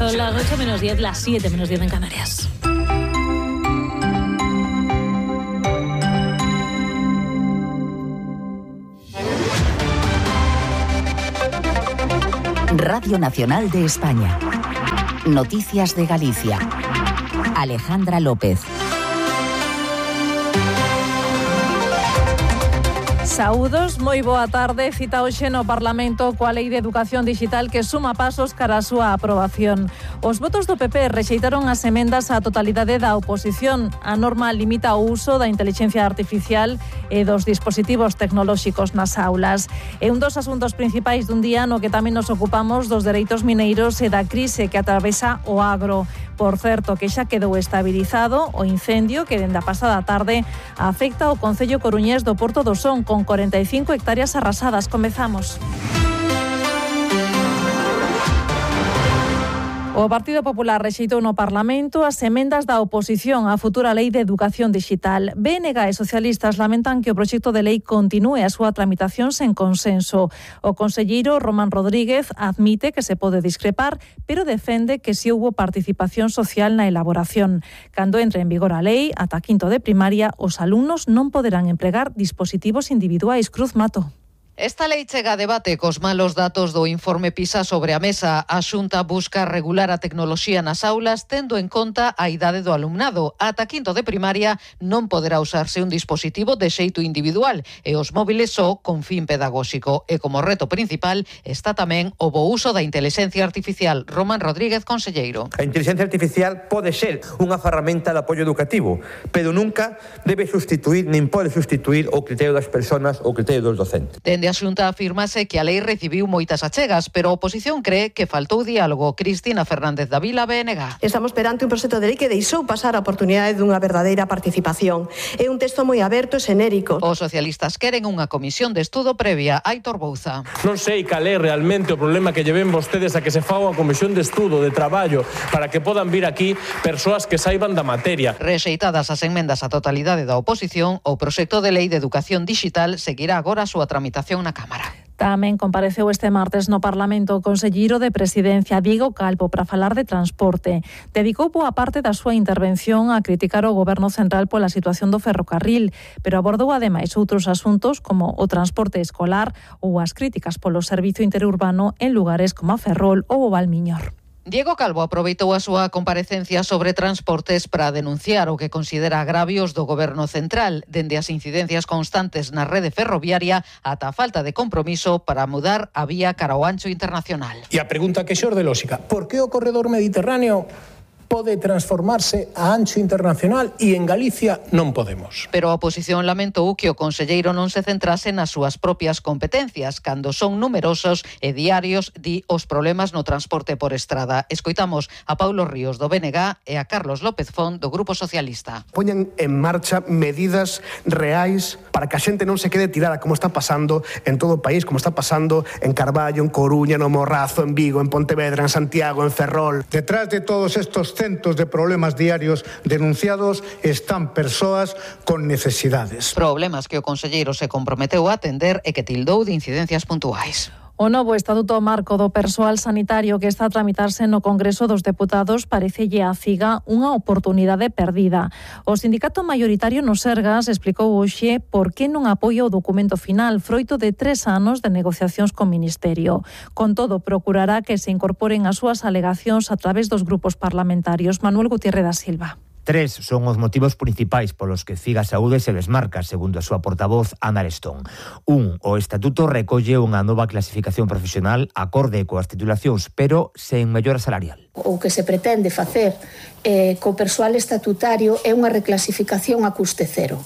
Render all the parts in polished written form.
Son las 8 menos 10, las 7 menos 10 en Canarias. Radio Nacional de España. Noticias de Galicia. Alejandra López. Saúdos, moi boa tarde. Cita hoxe no Parlamento coa Lei de Educación Digital que suma pasos cara a súa aprobación. Os votos do PP rexeitaron as emendas á totalidade da oposición. A norma limita o uso da intelixencia artificial e dos dispositivos tecnolóxicos nas aulas. É un dos asuntos principais dun día no que tamén nos ocupamos dos dereitos mineiros e da crise que atravesa o agro. Por certo, que xa quedou estabilizado o incendio que dende a pasada tarde afecta o concello coruñés do Porto do Son con 45 hectáreas arrasadas. Comezamos. O Partido Popular rexeitou no Parlamento as emendas da oposición á futura Lei de Educación Digital. BNG e socialistas lamentan que o proxecto de lei continúe a súa tramitación sen consenso. O conselleiro Román Rodríguez admite que se pode discrepar, pero defende que si houbo participación social na elaboración. Cando entre en vigor a lei, ata quinto de primaria, os alumnos non poderán empregar dispositivos individuais. Cruz Mato. Esta lei chega a debate cos malos datos do informe PISA sobre a mesa. A Xunta busca regular a tecnoloxía nas aulas tendo en conta a idade do alumnado. Ata quinto de primaria non poderá usarse un dispositivo de xeito individual e os móviles só con fin pedagóxico. E como reto principal está tamén o bo uso da intelixencia artificial. Román Rodríguez, conselleiro. A intelixencia artificial pode ser unha ferramenta de apoio educativo, pero nunca debe sustituir, nin pode sustituir o criterio das persoas ou o criterio dos docentes. Dende a Xunta afirmase que a lei recibiu moitas achegas, pero a oposición cree que faltou diálogo. Cristina Fernández da Vila, BNG. Estamos perante un proxecto de lei que deixou pasar a oportunidade dunha verdadeira participación. É un texto moi aberto e xenérico. Os socialistas queren unha comisión de estudo previa. Aitor Bouza. Non sei cal é realmente o problema que lleven vostedes a que se faga unha comisión de estudo, de traballo, para que podan vir aquí persoas que saiban da materia. Rexeitadas as enmendas á totalidade da oposición, o proxecto de lei de educación digital seguirá agora a súa tramitación na Cámara. Tamén compareceu este martes no Parlamento o conselleiro de Presidencia, Diego Calvo, para falar de transporte. Dedicou boa parte da súa intervención a criticar o Goberno central pola situación do ferrocarril, pero abordou ademais outros asuntos como o transporte escolar ou as críticas polo servizo interurbano en lugares como a Ferrol ou o Valmiñor. Diego Calvo aproveitou a súa comparecencia sobre transportes para denunciar o que considera agravios do Goberno central, dende as incidencias constantes na rede ferroviaria ata a falta de compromiso para mudar a vía cara ao ancho internacional. E a pregunta que xorde lóxica, por que o corredor mediterráneo pode transformarse a ancho internacional e en Galicia non podemos? Pero a oposición lamentou que o conselleiro non se centrase nas súas propias competencias, cando son numerosos e diarios os problemas no transporte por estrada. Escoitamos a Paulo Ríos do BNG e a Carlos López Font do Grupo Socialista. Poñan en marcha medidas reais para que a xente non se quede tirada, como está pasando en todo o país, como está pasando en Carballo, en Coruña, no Morrazo, en Vigo, en Pontevedra, en Santiago, en Ferrol. Detrás de todos estos centos de problemas diarios denunciados están persoas con necesidades. Problemas que o conselleiro se comprometeu a atender e que tildou de incidencias puntuais. O novo Estatuto Marco do Persoal Sanitario que está a tramitarse no Congreso dos Deputados parecelle a CIGA unha oportunidade perdida. O sindicato maioritario no Sergas explicou hoxe por que non apoia o documento final, froito de 3 anos de negociacións co Ministerio. Con todo, procurará que se incorporen as súas alegacións a través dos grupos parlamentarios. Manuel Gutiérrez da Silva. 3 son os motivos principais polos que CIGA Saúde se desmarca, segundo a súa portavoz Ana Arestón. 1. O Estatuto recolle unha nova clasificación profesional acorde coas titulacións, pero sen mellora salarial. O que se pretende facer co persoal estatutario é unha reclasificación a custe cero.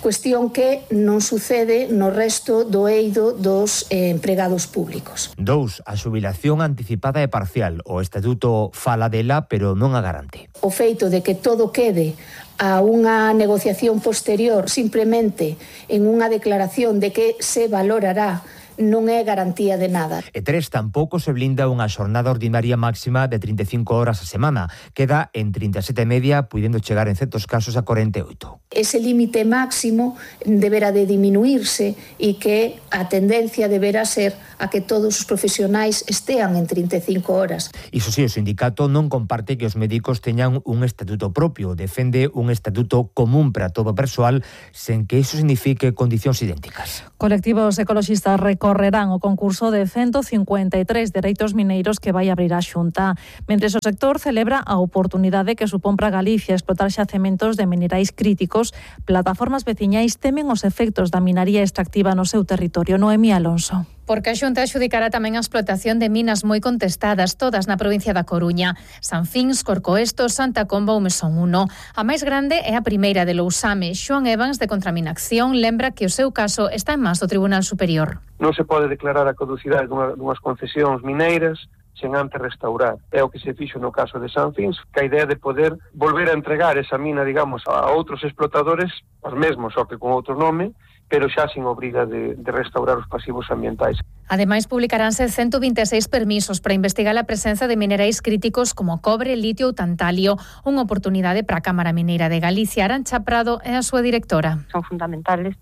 Cuestión que non sucede no resto do eido dos empregados públicos. 2. A xubilación anticipada e parcial. O Estatuto fala dela, pero non a garante. O feito de que todo quede a unha negociación posterior simplemente en unha declaración de que se valorará non é garantía de nada. E 3, tampouco se blinda unha xornada ordinaria máxima de 35 horas a semana. Queda en 37,5, puidendo chegar en certos casos a 48. Ese límite máximo deberá de diminuirse e que a tendencia deberá ser a que todos os profesionais estean en 35 horas. Iso si, o sindicato non comparte que os médicos teñan un estatuto propio, defende un estatuto común para todo o persoal, sen que iso signifique condicións idénticas. Colectivos ecoloxistas recorrerán o concurso de 153 dereitos mineiros que vai abrir a Xunta, mentres o sector celebra a oportunidade que supón para Galicia explotar xacementos de minerais críticos. Plataformas veciñais temen os efectos da minaría extractiva no seu territorio. Noemí Alonso. Porque a Xunta adxudicará tamén a explotación de minas moi contestadas, todas na provincia da Coruña. Sanfins, Corcoesto, Santa Comba ou Mesón 1. A máis grande é a primeira de Lousame. Xoan Evans, de Contraminación, lembra que o seu caso está en mans do Tribunal Superior. Non se pode declarar a caducidade dunhas concesións mineiras sen antes restaurar. É o que se fixo no caso de Sanfins, que a idea de poder volver a entregar esa mina, digamos, a outros explotadores, os mesmos, só que con outro nome, pero xa sin obriga de restaurar os pasivos ambientais. Ademais, publicaránse 126 permisos para investigar a presenza de minerais críticos como cobre, litio ou tantalio, unha oportunidade para a Cámara Mineira de Galicia. Arantxa Prado é a súa directora. Son fundamentales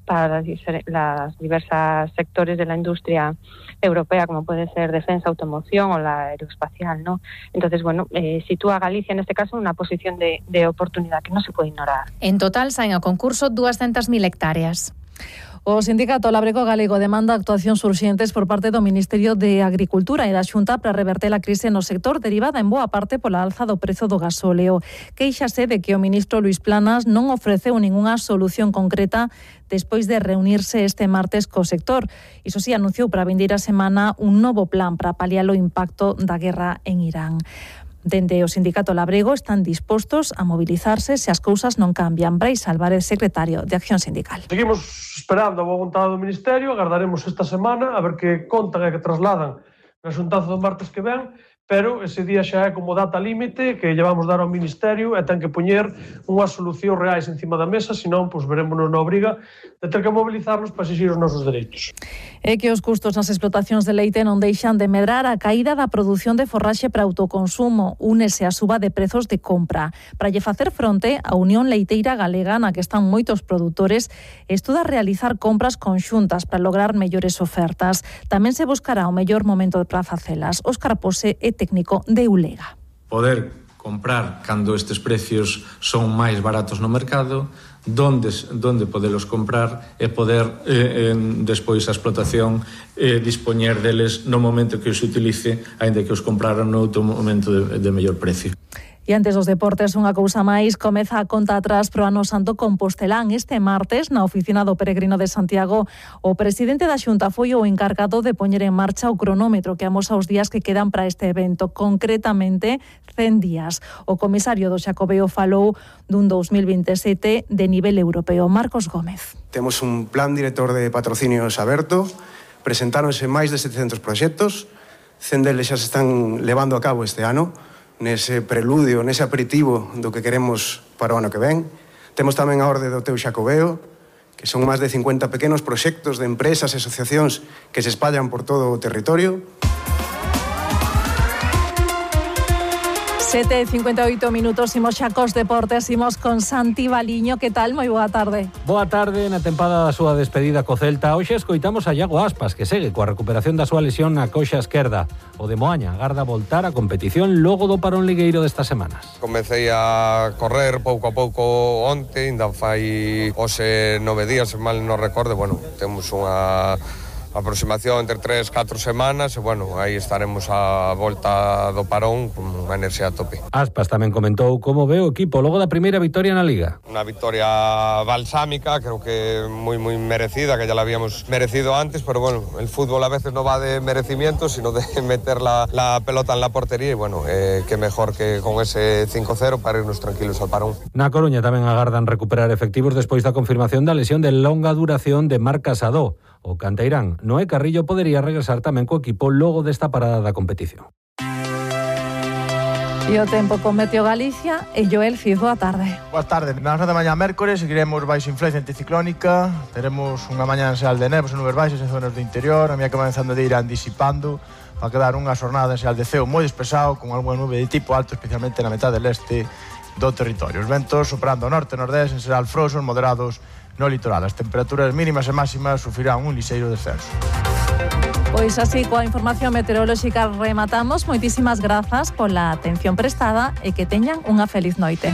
para las diversas sectores de la industria europea, como puede ser defensa, automoción o la aeroespacial, ¿no? Entonces, bueno, sitúa a Galicia en este caso en una posición de oportunidad que no se puede ignorar. En total, saen ao concurso 200.000 hectáreas. O Sindicato Labrego Galego demanda actuacións urxentes por parte do Ministerio de Agricultura e da Xunta para reverter a crise no sector derivada en boa parte pola alza do prezo do gasóleo. Quéixase de que o ministro Luís Planas non ofreceu ningunha solución concreta despois de reunirse este martes co sector. Iso si, anunciou para a vindeira semana un novo plan para paliar o impacto da guerra en Irán. Dende o Sindicato Labrego están dispostos a mobilizarse se as cousas non cambian. Brais Álvarez, secretario de Acción Sindical. Seguimos esperando a boa vontade do Ministerio, agardaremos esta semana a ver que contan e que trasladan na xuntanza do martes que ven, pero ese día xa é como data límite que lle vamos dar ao Ministerio e ten que poñer unhas solucións reais encima da mesa, senón, pois verémonos na obriga de ter que mobilizarnos para exigir os nosos dereitos. É que os custos nas explotacións de leite non deixan de medrar. A caída da produción de forraxe para autoconsumo únese á suba de prezos de compra. Para lle facer fronte, a Unión Leiteira Galega, na que están moitos produtores, estuda realizar compras conxuntas para lograr mellores ofertas. Tamén se buscará o mellor momento para facelas. Óscar Pose é técnico de Ulega. Poder comprar cando estes precios son máis baratos no mercado, donde podelos comprar e poder despois a explotación dispoñer deles no momento que os utilice, aínda que os compraran no outro momento de mellor precio. E antes dos deportes, unha cousa máis, comeza a conta atrás pro Ano Santo Compostelán. Este martes, na oficina do Peregrino de Santiago, o presidente da Xunta foi o encargado de poñer en marcha o cronómetro que amosa os días que quedan para este evento, concretamente 100 días. O comisario do Xacobeo falou dun 2027 de nivel europeo. Marcos Gómez. Temos un plan director de patrocinios aberto, presentáronse máis de 700 proxectos, 100 deles xa se están levando a cabo este ano, nese preludio, nese aperitivo do que queremos para o ano que ven. Temos tamén a orde do teu Xacobeo, que son máis de 50 pequenos proxectos de empresas e asociacións que se espallan por todo o territorio. 7:58 minutos, imos xa cos deportes, imos con Santi Baliño. Que tal? Moi boa tarde. Boa tarde, na tempada da súa despedida co Celta. Hoxe escoitamos a Iago Aspas, que segue coa recuperación da súa lesión na coxa esquerda. O de Moaña agarda voltar a competición logo do parón ligueiro destas semanas. Comecei a correr pouco a pouco onte, ainda fai hoxe 9 días, se mal non recordo. Bueno, temos unha aproximación entre 3-4 semanas e, bueno, aí estaremos a volta do parón con unha enerxía a tope. Aspas tamén comentou como ve o equipo logo da primeira vitoria na Liga. Unha vitoria balsámica, creo que moi merecida, que ya la habíamos merecido antes, pero, bueno, el fútbol a veces no va de merecimiento, sino de meter la pelota en la portería, y, bueno, que mejor que con ese 5-0 para irnos tranquilos al parón. Na Coruña tamén agardan recuperar efectivos despois da confirmación da lesión de longa duración de Marc Casado. O canteirán Noé Carrillo podería regresar tamén co equipo logo desta parada da competición. E o tempo con Meteo Galicia e Joel Fiz, boa tarde. Boas tardes. Na de mañá mércores seguiremos baixo influencia anticiclónica. Teremos unha mañá enseal de nevos e nubes baixas en zonas do interior. A mía comenzando de ir disipando para quedar unha xornada enseal de ceo moi despexado con algunha nube de tipo alto, especialmente na metade del este do territorio. Os ventos soprando ao norte e nordeste en xeral frouxos moderados no litoral. As temperaturas mínimas e máximas sufrirán un lixeiro descenso. Pois así, coa información meteorolóxica rematamos. Moitísimas grazas pola atención prestada e que teñan unha feliz noite.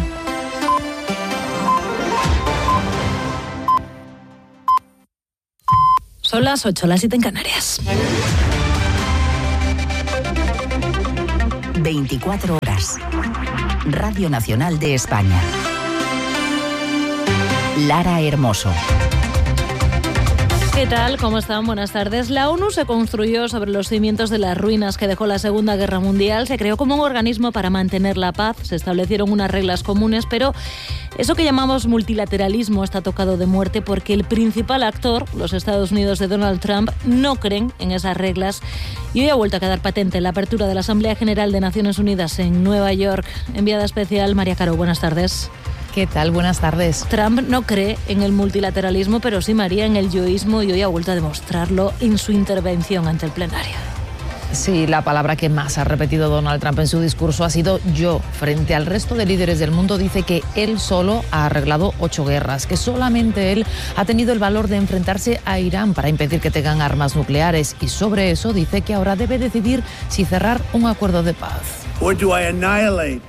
Son las 8, las 7 en Canarias. 24 horas. Radio Nacional de España. Lara Hermoso. ¿Qué tal? ¿Cómo están? Buenas tardes. La ONU se construyó sobre los cimientos de las ruinas que dejó la Segunda Guerra Mundial. Se creó como un organismo para mantener la paz. Se establecieron unas reglas comunes, pero eso que llamamos multilateralismo está tocado de muerte porque el principal actor, los Estados Unidos de Donald Trump, no creen en esas reglas. Y hoy ha vuelto a quedar patente la apertura de la Asamblea General de Naciones Unidas en Nueva York. Enviada especial, María Caro, buenas tardes. ¿Qué tal? Buenas tardes. Trump no cree en el multilateralismo, pero sí, María, en el yoísmo, y hoy ha vuelto a demostrarlo en su intervención ante el plenario. Sí, la palabra que más ha repetido Donald Trump en su discurso ha sido yo. Frente al resto de líderes del mundo dice que él solo ha arreglado 8 guerras, que solamente él ha tenido el valor de enfrentarse a Irán para impedir que tengan armas nucleares, y sobre eso dice que ahora debe decidir si cerrar un acuerdo de paz. Or do I annihilate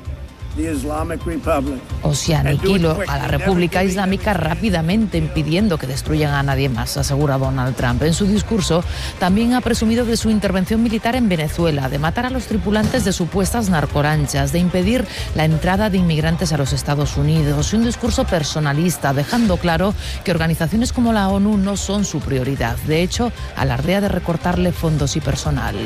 the Islamic Republic? O si aniquilo a la República Islámica rápidamente, impidiendo que destruyan a nadie más, asegura Donald Trump. En su discurso también ha presumido de su intervención militar en Venezuela, de matar a los tripulantes de supuestas narcolanchas, de impedir la entrada de inmigrantes a los Estados Unidos. Un discurso personalista, dejando claro que organizaciones como la ONU no son su prioridad. De hecho, alardea de recortarle fondos y personal.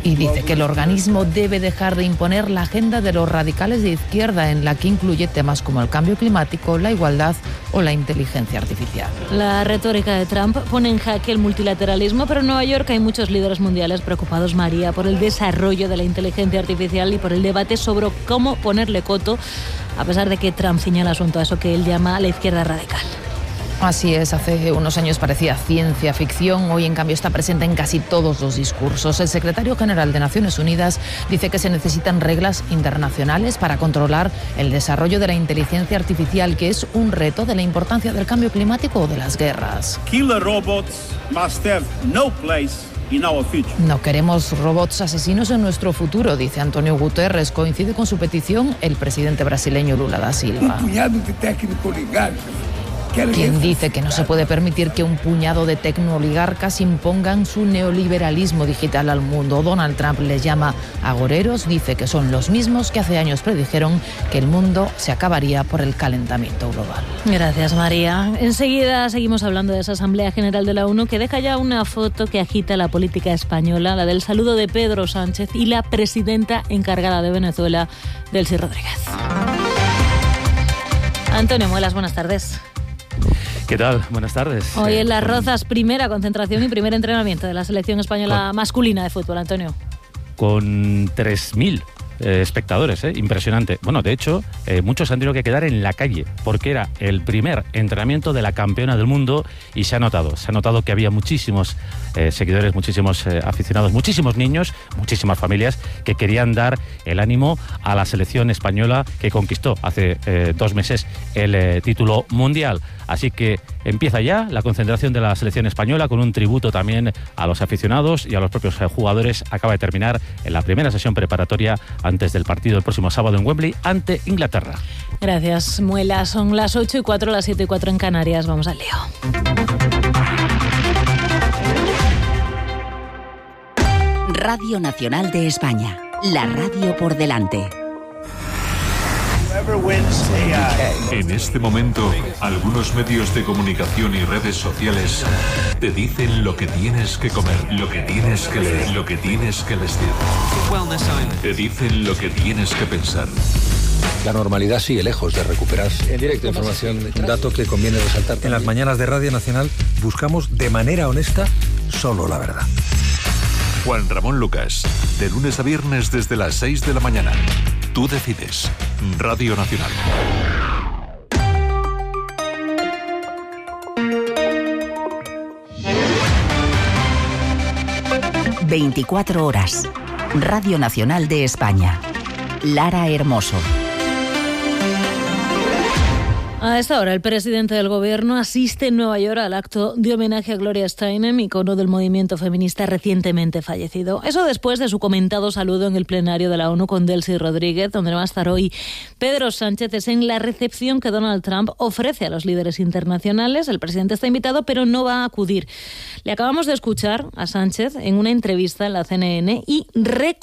Y dice que el organismo debe dejar de imponer la agenda de los radicales de izquierda, en la que incluye temas como el cambio climático, la igualdad o la inteligencia artificial. La retórica de Trump pone en jaque el multilateralismo, pero en Nueva York hay muchos líderes mundiales preocupados, María, por el desarrollo de la inteligencia artificial y por el debate sobre cómo ponerle coto, a pesar de que Trump señala asunto a eso que él llama la izquierda radical. Así es, hace unos años parecía ciencia ficción, hoy en cambio está presente en casi todos los discursos. El secretario general de Naciones Unidas dice que se necesitan reglas internacionales para controlar el desarrollo de la inteligencia artificial, que es un reto de la importancia del cambio climático o de las guerras. Killer robots must have no place. No queremos robots asesinos en nuestro futuro, dice Antonio Guterres. Coincide con su petición el presidente brasileño Lula da Silva. Quien dice que no se puede permitir que un puñado de tecnooligarcas impongan su neoliberalismo digital al mundo. Donald Trump les llama agoreros, dice que son los mismos que hace años predijeron que el mundo se acabaría por el calentamiento global. Gracias, María. Enseguida seguimos hablando de esa Asamblea General de la ONU, que deja ya una foto que agita la política española, la del saludo de Pedro Sánchez y la presidenta encargada de Venezuela, Delcy Rodríguez. Antonio Muelas, buenas tardes. ¿Qué tal? Buenas tardes. Hoy en Las Rozas, primera concentración y primer entrenamiento de la selección española masculina de fútbol, Antonio. Con 3.000 espectadores, impresionante. Bueno, de hecho, muchos han tenido que quedar en la calle porque era el primer entrenamiento de la campeona del mundo y se ha notado que había muchísimos seguidores, muchísimos aficionados, muchísimos niños, muchísimas familias que querían dar el ánimo a la selección española que conquistó hace 2 meses el título mundial. Así que empieza ya la concentración de la selección española con un tributo también a los aficionados y a los propios jugadores. Acaba de terminar en la primera sesión preparatoria antes del partido el próximo sábado en Wembley ante Inglaterra. Gracias, Muela. Son las 8:04, las 7:04 en Canarias. Vamos al lío. Radio Nacional de España. La radio por delante. En este momento, algunos medios de comunicación y redes sociales te dicen lo que tienes que comer, lo que tienes que leer, lo que tienes que vestir. Te dicen lo que tienes que pensar. La normalidad sigue lejos de recuperarse. En directo, información, un dato que conviene resaltar. En las mañanas de Radio Nacional buscamos de manera honesta solo la verdad. Juan Ramón Lucas, de lunes a viernes desde las 6 de la mañana. Tú decides. Radio Nacional. ...24 horas... Radio Nacional de España. Lara Hermoso. A esta hora, el presidente del Gobierno asiste en Nueva York al acto de homenaje a Gloria Steinem, icono del movimiento feminista recientemente fallecido. Eso después de su comentado saludo en el plenario de la ONU con Delcy Rodríguez, donde va a estar hoy Pedro Sánchez. Es en la recepción que Donald Trump ofrece a los líderes internacionales. El presidente está invitado, pero no va a acudir. Le acabamos de escuchar a Sánchez en una entrevista en la CNN y